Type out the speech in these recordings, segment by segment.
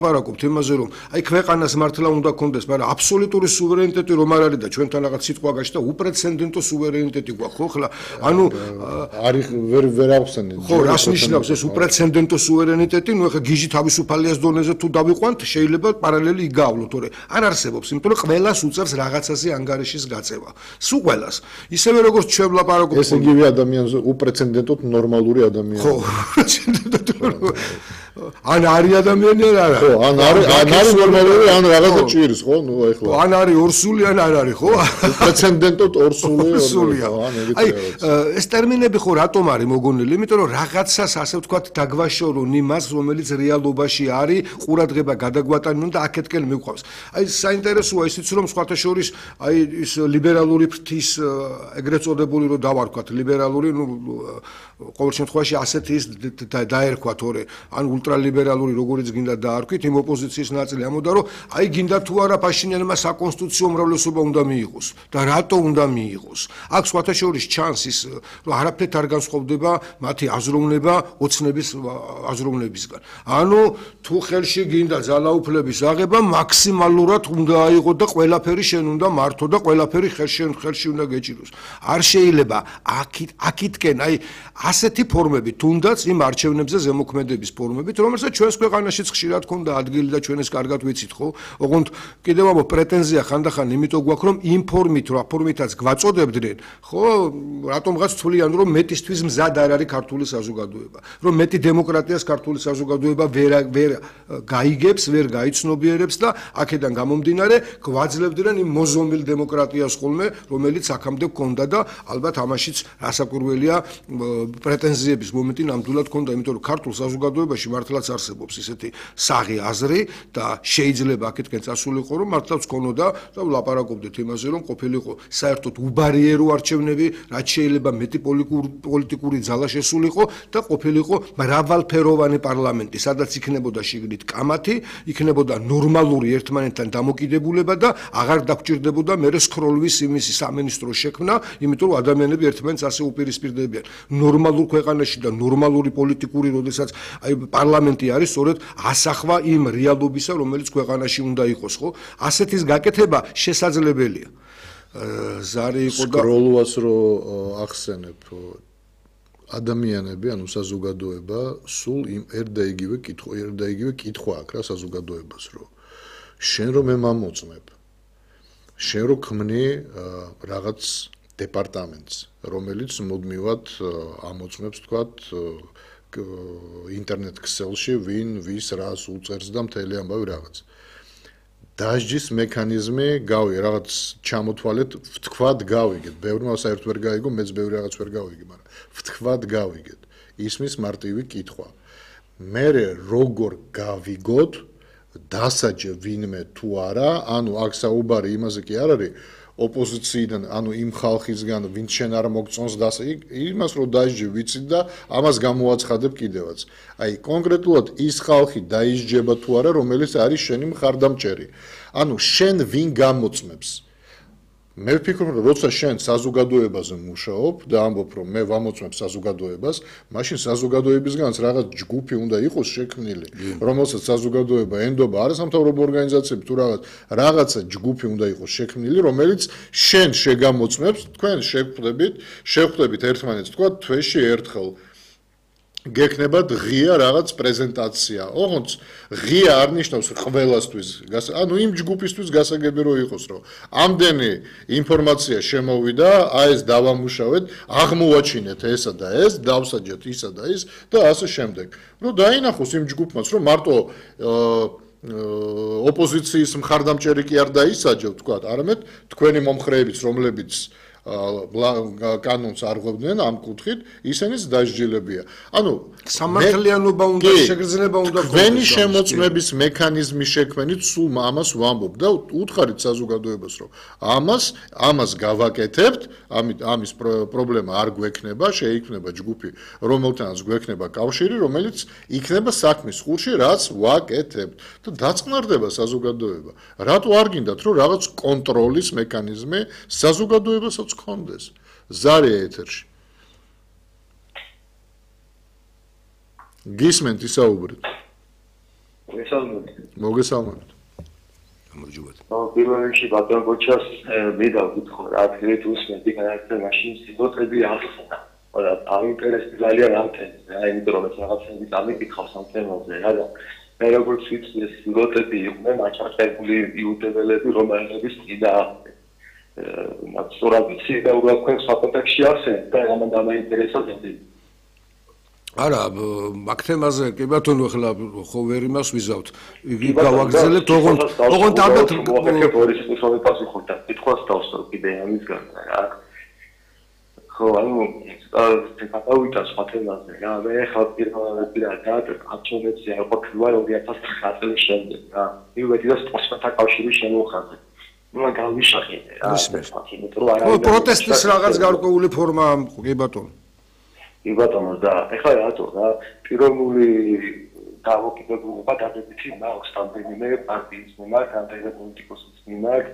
ვარაყოფთ იმაზე რომ აი ქვეყანას მართლა უნდა კონდეს, მაგრამ აბსოლუტური სუვერენიტეტი რომ არ არის და ჩვენთან რაღაც სიტყვა გაჩნდა, უპრეცედენტო სუვერენიტეტი გვაქვს, ხო ხლა? ანუ არის ვერ ახსენეთ. ხო, რას ნიშნავს ეს უპრეცედენტო სუვერენიტეტი? ნუ ეხა გიჟი თავისუფალიას დონეზე თუ დავიყვანთ, შეიძლება პარალელი იგავლოთ, თორე არ არსებობს, იმიტომ რომ ყველას უწევს რაღაცაზე ანგარიშის გაწევა. სულ ყველას. ისევე როგორც ჩვენ ვლაპარაკობთ. ეს იგივე ადამიანზე უპრეცედენტოდ ნორმალური ადამიანი. ხო, უპრეცედენტოდ ან არის ადამიანი ან არა. ხო, ან არის ნორმალური, ან რაღაცა ჭირს, ხო? ნუ ეხლა. ან არის ორსული, ან არ არის, ხო? პრეცედენტოდ ორსულია. აი, ეს ტერმინები ხო რატომ არის მოგონილი? იმიტომ რომ რაღაცას ასე ვთქვათ დაგვაშორონ იმას, რომელიც რეალობაში არის, ყურადღება გადაგვატანონ და აქეთკენ მიყვავს. აი, საინტერესოა ისიც, რომ სხვათა შორის აი ის ლიბერალური ფრთის ეგრეთ წოდებული რომ დავარქვათ, ლიბერალური, ნუ ყოველ შემთხვევაში ასეთი ის დაერქვა, თორე ან ულტრალიბერალური როგორიც გინდა დაარქვით, იმ ოპოზიციის ნაწილი ამოდა, რომ აი გინდა თუ არა პაშინიანმა საკონსტიტუციო უმრავლესობა უნდა მიიღოს და რატო უნდა მიიღოს. აქ სხვათა შორის ჩანს ის, რომ არაფრით არ განსხვავდება მათი აზროვნება ოცნების აზროვნებისგან. ანუ თუ ხელში გინდა ძალაუფლების აღება, მაქსიმალურად უნდა აიღო და ყველაფერი შენ უნდა მართო და ყველაფერი ხელში უნდა გეჭიროს. არ შეიძლება აქითკენ აი ასეთი ფორმები, თუნდაც იმ არჩევნებზე ზემოქმედების ფორმებით, რომელსაც ჩვენს ქვეყანაშიც ხშირად ქონდა ადგილი და ჩვენ ეს კარგად ვიცით, ხო? ოღონდ კიდევ ამბობ, პრეტენზია ხანდახან იმიტომ გვაქვს, რომ იმ ფორმითაც გვაწოდებდნენ, ხო? რატომღაც თვლიან, რომ მეტისთვის მზად არ არის ქართული საზოგადოება, რომ მეტი დემოკრატიას ქართული საზოგადოება ვერ გაიგებს, ვერ გაიცნობიერებს და აქედან გამომდინარე გვაძლევდნენ იმ მოზომილ დემოკრატიას ხოლმე, რომელიც აქამდე გქონდა და ალბათ ამაშიც რასაკვირველია პრეტენზიების მომენტი ნამდვილად გქონდა, იმიტომ რომ ქართულ საზოგადოებაში მართლაც არსებობს ისეთი საღი აზრი და შეიძლება აქეთკენ წასულიყო, რომ მართლაც გქონოდა და ვლაპარაკობდით იმაზე, რომ ყოფილიყო საერთოდ უბარიერო არჩევნები, რაც შეიძლება მეტი პოლიტიკური ძალა შესულიყო და ყოფილიყო მრავალფეროვანი პარლამენტი, სადაც იქნებოდა შიგნით კამათი, იქნებოდა ნორმალური ერთმანეთთან დამოკიდებულება და აღარ დაგჭირდებოდა მერე სქროლვის იმისი სამინისტროს შექმნა, იმიტომ რომ ადამიანები ერთმანეთს ასე უპირისპირდებიან. ნორმალურ ქვეყანაში და ნორმალური პოლიტიკური, როდესაც აი პარლამენტი არის სწორედ ასახვა იმ რეალობისა, რომელიც ქვეყანაში უნდა იყოს, ხო? ასეთის გაკეთება შესაძლებელია. ზარი იყო და სკროლვას რო ახსენებ, ადამიანები, ანუ საზოგადოება სულ იმ ერთა იგივე კითხვა აქვს რა საზოგადოებას, რომ შენ რომ მე მამოწმებ, შენ რო ქმნი რაღაც დეპარტამენტს, რომელიც მუდმივად ამოწმებს, თქვათ, ინტერნეტ ქსელში ვინ ვის რას უწერს და მთელი ამბავი რაღაც. დასჯის მექანიზმი რაღაც ჩამოთვალეთ, ვთქვათ გავიგეთ. ბევრმა საერთოდ ვერ გაიგო, მეც ბევრი რაღაც ვერ გავიგე, მაგრამ ვთქვათ გავიგეთ. ისმის მარტივი კითხვა. მე როგორ გავიგოთ, დასაჯე ვინმე თუ არა, ანუ აქ საუბარი იმაზე კი არ არის, ოპოზიციიდან, ანუ იმ ხალხისგან, ვინც შენ არ მოგწონს იმას რომ დაისჯე ვიცით და ამას გამოაცხადებ კიდევაც. აი, კონკრეტულად ის ხალხი დაისჯება თუ არა, რომელიც არის შენი მხარდამჭერი. ანუ შენ ვინ გამოწმებს? მე ვფიქრობ, რომ როცა შენ საზოგადოებაზე მუშაობ და ამბობ, რომ მე ვამოწმებ საზოგადოებას, მაშინ საზოგადოებისგანაც რაღაც ჯგუფი უნდა იყოს შექმნილი, რომელსაც საზოგადოება ენდობა არასამთავრობო ორგანიზაციები თუ რაღაცა ჯგუფი უნდა იყოს შექმნილი, რომელიც შენ შეგამოწმებს, თქვენ შევხვდებით ერთმანეთს, თქვა თვეში ერთხელ გექნება ღია რაღაც პრეზენტაცია. ოღონდ ღია არ ნიშნავს ყველასთვის, ანუ იმ ჯგუფისთვის გასაგები რო იყოს, რომ ამდენი ინფორმაცია შემოვიდა, აი ეს დავამუშავეთ, აღმოვაჩინეთ ესა და ეს, დავსაჯეთ ისა და ის და ასე შემდეგ. რომ დაინახოს იმ ჯგუფმაც, რომ მარტო ოპოზიციის მხარდამჭერი კი არ დაისაჯევ, თქვათ, არამედ თქვენი მომხრეებიც, რომლებიც კანონს არღვევდნენ ამ კუთხით, ისინიც დასჯილებია. ანუ სამართლიანობა უნდა შეგრძნება უნდა თქვენი შემოწმების მექანიზმი შექმნით, სულ ამას ვამბობ და უთხარით საზოგადოებას, რომ ამას გავაკეთებთ, ამის პრობლემა არ გვექნება, შეიქმნება ჯგუფი, რომელთანაც გვექნება კავშირი, რომელიც იქნება საქმის ხურში, რაც ვაკეთებთ და დაწყნარდება საზოგადოება. რატო არ გინდათ, რომ რაღაც კონტროლის მექანიზმი საზოგადოებასაც კონდეს. ზარია ეთერში. გისმენთ ისაუბრეთ. მოგესალმებით. გამარჯობათ. პირველ რიგში ბატონ გოჩას მედავ გითხო რა თქმა უნდა განაცხადა მაშინ სიტყვები ახსნა. და აინტერესებს ძალიან ამთენზე, იმიტომ რომ რაღაცები დამიკითხავს ამ თემაზე რა და მე როგორც ვიცი ეს სიტყვები იყვნენ აჭარბებული იუდეველები რომაელების წინააღმდეგ. სწორად ვიცი და უბრალოდ თქვენ სხვა კონტექსტში ახსენეთ და ამან დამაინტერესა დიდი. არა, მაგ თემაზე კი ბატონო ახლა ხო ვერ იმას ვიზავთ. გავაგრძელებთ ოღონდ ალბათ მოახერხებ ორი სიტყვები პასუხობ და კითხვას დავსწრებ კიდე ამისგან რა. ხო, ანუ გავიტანე სხვა თემაზე რა. მე ხალ პირველად არჩევნებზე არ ყოფილა 2009 წლის შემდეგ რა. მივედი და სპორტსმენთა კავშირის შემოხაზე. ნუ გავიშახე რა. პროტესტის რაღაც გარკვეული ფორმა კი ბატონო. კი ბატონო და ეხლა რატო რა პიროვნული დავოკიდებულება დადებითი მაქვს რამდენიმე პარტიის მიმართ, რამდენიმე პოლიტიკოსის მიმართ,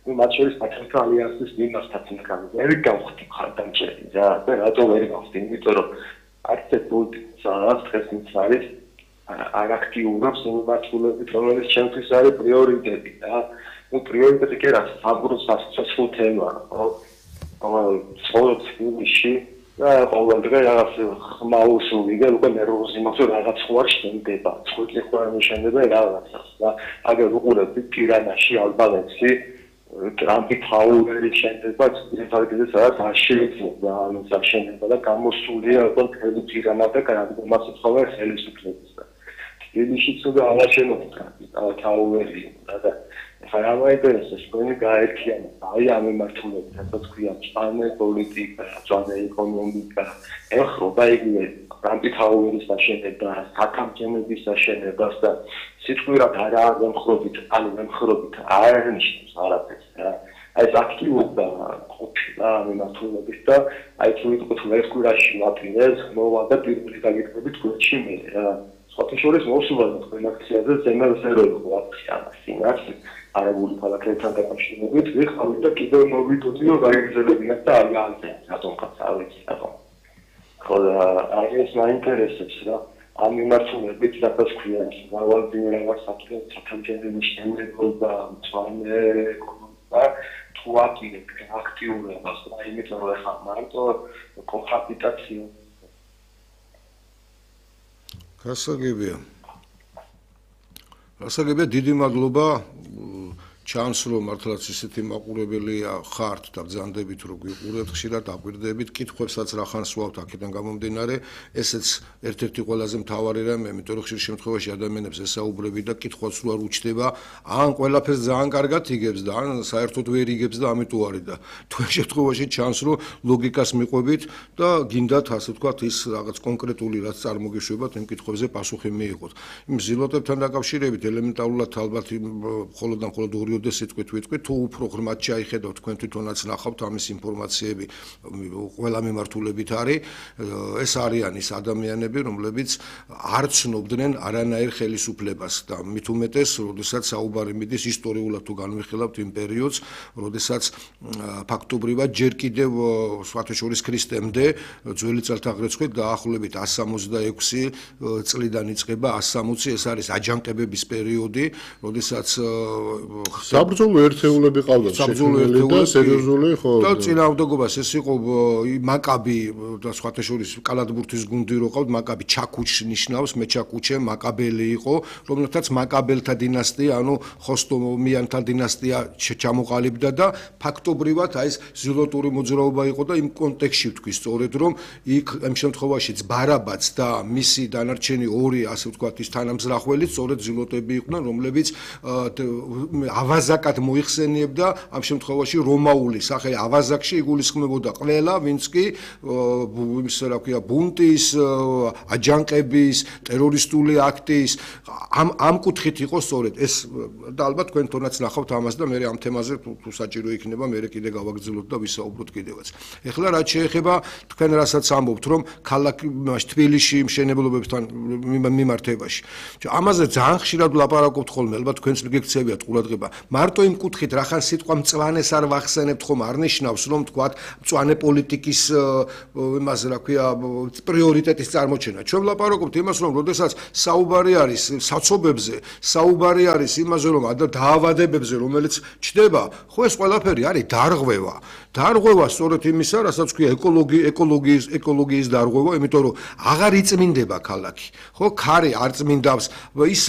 ნუ მათ შორის პატრიოტთა ალიანსის მიმართაც იქნება. ვერ გავხდი ხარდამჭერი რა და რატო ვერ გავხდი? იმიტომ რომ არც ეს პოლიტიკოსს დღეს ის არის არ აქტიურობს მიმართულებით, რომელიც ჩემთვის არის პრიორიტეტი რა. ნუ პრიორიტეტი კი რა, საბურავად სასწრაფო თემაა, ხო? ცხოვრობს ფილმში და ყოველდღე რაღაც ხმაურსული და უკვე ნერვოზი მაქვს რომ რაღაც ხوار შენდება. ცოტა ხوار შენება რაღაცას და აგერ უყურებთ პირანაში ალბანეთში ტრამპი ფაულერი შენდება ძირითადად სადაც არ შეიძლება ანუ საშენება და გამოსულია უკვე მთელი პირანა და გამომასწრება ხოლმე ხელისუფლების და თბილისში ცოტა ალაშენობს ტრამპი ფაულერი და ხარ ამაინტერესებს თქვენი გაერთიანება აი ამ მიმართულებით რასაც ქვია წვანე პოლიტიკა, წვანე ეკონომიკა, ეხება იგივე ტრამპი ფაულერის აშენება, საკამჯენების აშენებას და სიტყვირად არა ემხრობით, ანუ ემხრობით არ ნიშნავს არაფერს რა. აი ეს აქტიურობა ყოფილა მიმართულებით და აი თუ ვიტყვით ვერკურაში ვაპირეს, მოვა და პირველი დაგეკრებით გულში მე რა. სხვათა შორის მოსულა თქვენ აქციაზე ზემელსეროი ხო აქცია ამას არაბული ქალაქებთან დაკავშირებით ვიხავით და კიდევ მოვიდოდი რომ გაიგრძელებინათ და არ გაანცენ რატომღაც არ ვიცი რატომ. ხო და აი ეს მაინტერესებს რა ამ მიმართულებით რაღაც ქვია მრავალბინე რაღაც საკუთრების შემოება წვანე ეკონომიკა თუ აკიდებ აქტიურობას და იმიტომ რომ ხა მარტო კოჰაბიტაცია გასაგებია დიდი მადლობა ჩანს რომ მართლაც ისეთი მაყურებელია ხართ და ბრძანდებით რომ გვიყურებთ ხშირად აკვირდებით კითხვებსაც რახან სვავთ აქედან გამომდინარე ესეც ერთ-ერთი ყველაზე მთავარი რამე იმიტომ რომ ხშირ შემთხვევაში ადამიანებს ესაუბრები და კითხვაც რო არ უჩდება ან ყველაფერს ძალიან კარგად იგებს და ან საერთოდ ვერ იგებს და ამიტომ არის და თქვენ შემთხვევაში ჩანს რომ ლოგიკას მიყვებით და გინდათ ასე ვთქვათ ის რაღაც კონკრეტული რაც წარმოგიშვებათ იმ კითხვებზე პასუხი მიიღოთ იმ ზილოტებთან დაკავშირებით ელემენტარულად ალბათ მხოლოდ და მხოლოდ ორი სიტყვით ვიტყვით თუ უფრო ღრმად ჩაიხედავთ თქვენ თვითონაც ნახავთ ამის ინფორმაციები ყველა მიმართულებით არის ეს არიან ის ადამიანები რომლებიც არ ცნობდნენ არანაირ ხელისუფლებას და მით უმეტეს როდესაც საუბარი მიდის ისტორიულად თუ განვიხილავთ იმ პერიოდს როდესაც ფაქტობრივად ჯერ კიდევ სხვათა შორის ქრისტემდე ძველი წელთაღრიცხვით დაახლოებით 166 წლიდან იწყება 160 ეს არის აჯანყებების პერიოდი როდესაც საბრძოლო ერთეულები ყავდათ შექმნილი და სერიოზული ხო და წინააღმდეგობას ეს იყო მაკაბი და სხვათა შორის კალათბურთის გუნდი რო ყავთ მაკაბი ჩაკუჩს ნიშნავს მეჩაკუჩე მაკაბელი იყო რომელთაც მაკაბელთა დინასტია ანუ ხოსტომიანთა დინასტია ჩამოყალიბდა და ფაქტობრივად აი ეს ზილოტური მოძრაობა იყო და იმ კონტექსტში ვთქვი სწორედ რომ იქ ამ შემთხვევაშიც ბარაბაც და მისი დანარჩენი ორი ასე ვთქვათ ის თანამზრახველი სწორედ ზილოტები იყვნენ რომლებიც ავაზაკად მოიხსენიებდა ამ შემთხვევაში რომაული სახელი ავაზაკში იგულისხმებოდა ყველა ვინც კი იმის რა ქვია ბუნტის აჯანყების ტერორისტული აქტის ამ კუთხით იყო სწორედ ეს და ალბათ თქვენ თონაც ნახავთ ამას და მე ამ თემაზე თუ საჭირო იქნება მე კიდე გავაგრძელოთ და ვისაუბროთ კიდევაც ეხლა რაც შეეხება თქვენ რასაც ამბობთ რომ ქალაქ თბილისში მშენებლობებთან მიმართებაში ამაზე ძალიან ხშირად ვლაპარაკობთ ხოლმე ალბათ თქვენც გექცევიათ ყურადღება მარტო იმ კუთხით რახან სიტყვა მწვანეს არ ვახსენებთ ხომ არ ნიშნავს რომ თქვათ მწვანე პოლიტიკის იმაზე რა ქვია პრიორიტეტის წარმოჩენა. ჩვენ ვლაპარაკობთ იმას რომ როდესაც საუბარი არის საცობებზე, საუბარი არის იმაზე რომ დაავადებებზე რომელიც ჩდება, ხო ეს ყველაფერი არის დარღვევა. დარღვევა სწორედ იმისა, რასაც ქვია ეკოლოგიის დარღვევა, იმიტომ რომ აღარ იწმინდება ქალაქი. ხო, ქარი არ წმინდავს, ის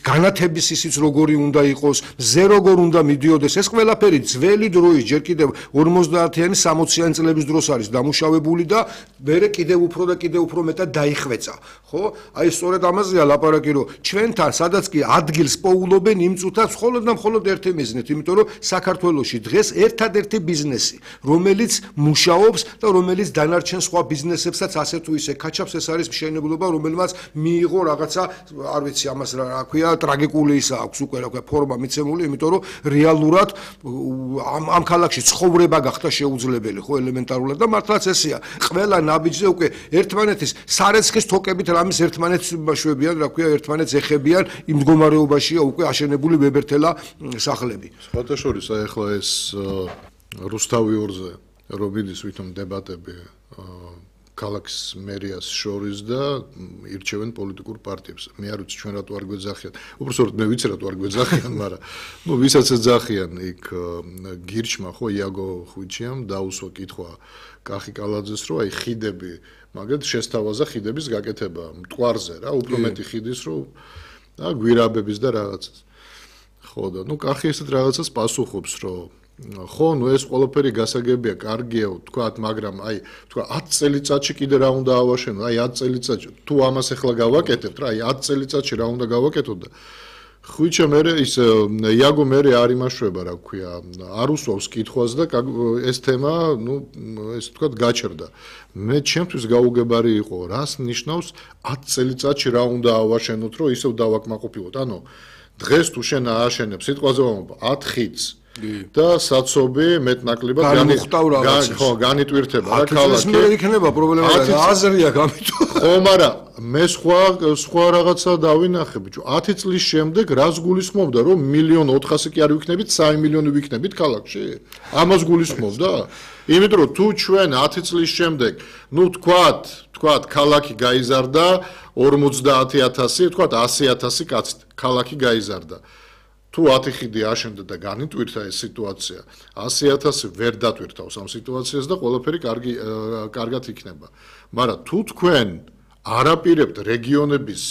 განათების ისიც როგორი უნდა იყოს, მზე როგორ უნდა მიდიოდეს, ეს ყველაფერი ძველი დროის ჯერ კიდევ 50-იანი 60-იანი წლების დროს არის დამუშავებული და მერე კიდევ უფრო მეტად დაიხვეწა. ხო? აი სწორედ ამაზეა ლაპარაკი, რომ ჩვენთან სადაც კი ადგილს პოულობენ იმ წუთას მხოლოდ და მხოლოდ ერთი მიზნით, იმიტომ რომ საქართველოში დღეს ერთადერთი ბიზნესი, რომელიც მუშაობს და რომელიც დანარჩენ სხვა ბიზნესებსაც ასე თუ ისე კაჩავს, ეს არის მშენებლობა, რომელმაც მიიღო რაღაცა, არ ვიცი, ამას რა ქვია, ტრაგიკული ისა აქვს უკვე რა ქვია, ფორმა მიცემული, იმიტომ რომ რეალურად ამ ქალაქში ცხოვრება გახდა შეუძლებელი, ხო, ელემენტარულად და მართლაც ესეა. ყველა ნაბიჯზე უკვე ერთმანეთის სარეცხის თოკებით რამის ერთმანეთს ბაშვებიან, რა ქვია, ერთმანეთს ეხებიან, იმ მდგომარეობაშია უკვე აშენებული ვებერთელა სახლები. სხვათა შორის, აი ახლა ეს რუსთავიორზე რომ მიდის ვითომ დებატები ქალაქის მერიას შორის და ირჩევენ პოლიტიკურ პარტიებს. მე არ ვიცი ჩვენ რატო არ გვეძახიან. უბრალოდ მე ვიცი რატო არ გვეძახიან, მაგრამ ვისაც ეძახიან იქ გირჩმა ხო იაგო ხვიჩიამ დაუსვა კითხვა კახი კალაძეს რომ აი ხიდები, მაგათ შესთავაზა ხიდების გაკეთება მტკვარზე რა, უფრო მეტი ხიდის რომ და გვირაბების და რაღაცას. ხო და კახი ესეთ რაღაცას პასუხობს რომ ხო, ეს ყველაფერი გასაგებია, კარგია, თქვათ, მაგრამ აი, თქვა 10 წელიწადში კიდე რა უნდა ავაშენო, აი 10 წელიწადში, თუ ამას ახლა გავაკეთებთ, რა, აი 10 წელიწადში რა უნდა გავაკეთოთ და ხვიჩა მე ის იაგო მე არ იმაშვება, რა ქვია, არ უსვავს კითხვას და ეს თემა, ეს თქვათ, გაჩერდა. მე ჩემთვის გაუგებარი იყო, რას ნიშნავს 10 წელიწადში რა უნდა ავაშენოთ, რომ ისევ დავაკმაყოფილოთ. ანუ დღეს თუ შენ ააშენებ, სიტყვაზე ვამბობ, 10 ხიდს და საცობი მეტნაკლებად განიტვირთება რა ქალაქი. მე იქნება პრობლემა და აზრია გამიტვირთება. ხო, მაგრამ მე სხვა რაღაცა დავინახე, ბიჭო. 10 წლის შემდეგ რას გულისხმობდა, რომ 1.400.000 კი არ ვიქნებით, 3 მილიონი ვიქნებით ქალაქში? ამას გულისხმობდა? იმიტომ რომ თუ ჩვენ 10 წლის შემდეგ, თქვათ, ქალაქი გაიზარდა 50,000, თქვათ 100,000 კაცით, ქალაქი გაიზარდა. თუ 10 ხიდი აშენდა და განიტვირთა ეს სიტუაცია, 100,000 ვერ დატვირთავს ამ სიტუაციას და ყველაფერი კარგად იქნება. მაგრამ თუ თქვენ არაპირებთ რეგიონების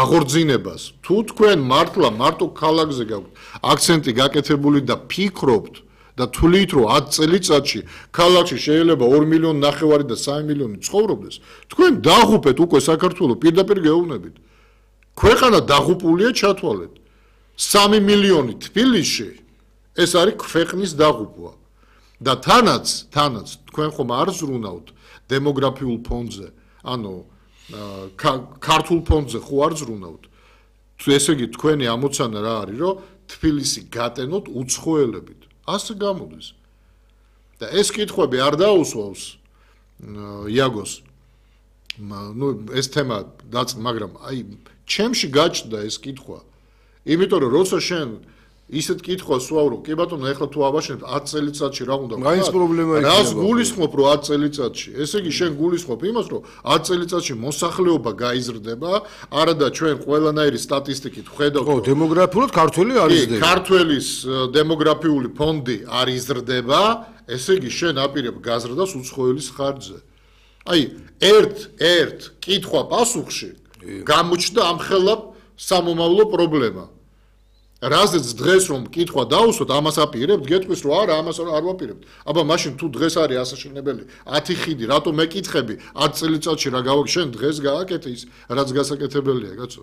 აღორძინებას, თუ თქვენ მარტო ქალაქზე გაქვთ აქცენტი გაკეთებული და ფიქრობთ და თვლით რომ 10 წელიწადში ქალაქში შეიძლება 2.5 მილიონი და 3 მილიონი ცხოვრობდეს, თქვენ დაღუპეთ უკვე საქართველოს პირდაპირ გეუბნებით. ქვეყანა დაღუპულია, ჩათვალეთ. 3 მილიონი თბილისში ეს არის ქვეყნის დაღუპვა. და თანაც თქვენ ხომ არ ზრუნავთ დემოგრაფიულ ფონდზე, ანუ ქართულ ფონდზე ხო არ ზრუნავთ. ესე იგი თქვენი ამოცანა რა არის, რომ თბილისი გატენოთ უცხოელებით. ასე გამოდის. და ეს კითხვები არ დაუსვავს იაგოს. ეს თემა მაგრამ აი ჩემში გაჩნდა ეს კითხვა. იმიტომ რომ როცა შენ ისეთ კითხვას ვსვავ, კი ბატონო, ეხლა თუ ავაშენებთ 10 წელიწადში რა უნდა ვქნა? რას გულისხმობ რომ 10 წელიწადში? ესე იგი შენ გულისხმობ იმას, რომ 10 წელიწადში მოსახლეობა გაიზრდება, არა და ჩვენ ყველანაირი სტატისტიკით ვხედავთ, რომ დემოგრაფიულად ქართველი არ იზრდება. ქართველის დემოგრაფიული ფონდი არ იზრდება, ესე იგი შენ აპირებ გაზრდას უცხოელის ხარჯზე. აი, ერთ კითხვა პასუხში გამოჩნდა ამხელა სამომავლო პრობლემა. რაზეც დღეს რომ კითხვა დაუსვოთ, ამას აპირებთ, გეტყვის რომ არა, ამას არ ვაპირებთ. აბა მაშინ თუ დღეს არის ასაშენებელი 10 ხიდი, რატო მეკითხები 10 წელიწადში რა შენ დღეს გააკეთე ის, რაც გასაკეთებელია, კაცო.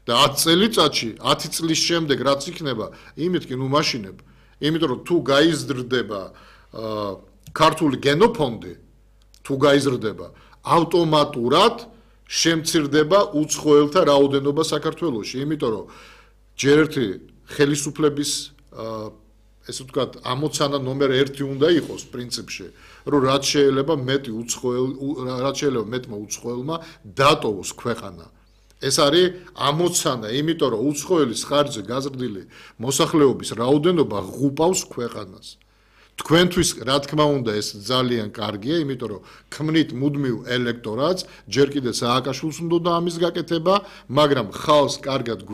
და 10 წელიწადში, 10 წლის შემდეგ რაც იქნება, იმით კი მაშინებ. იმიტომ რომ თუ გაიზრდება ქართული გენოფონდი, თუ გაიზრდება, ავტომატურად შემცირდება უცხოელთა რაოდენობა საქართველოში, იმიტომ რომ ჯერ ერთი ხელისუფლების ესე ვთქვათ, ამოცანა ნომერ 1 უნდა იყოს პრინციპში, რომ რაც შეიძლება მეტმა უცხოელმა დატოვოს ქვეყანა. ეს არის ამოცანა, იმიტომ რომ უცხოელის ხარჯზე გაზრდილი მოსახლეობის რაოდენობა ღუპავს ქვეყანას. თქვენთვის რა თქმა უნდა ეს ძალიან კარგია, იმიტომ რომ ქმნით მუდმივ ელექტორატს, ჯერ კიდევ სააკაშვილს უნდა ამის გაკეთება, მაგრამ ხალხს კარგად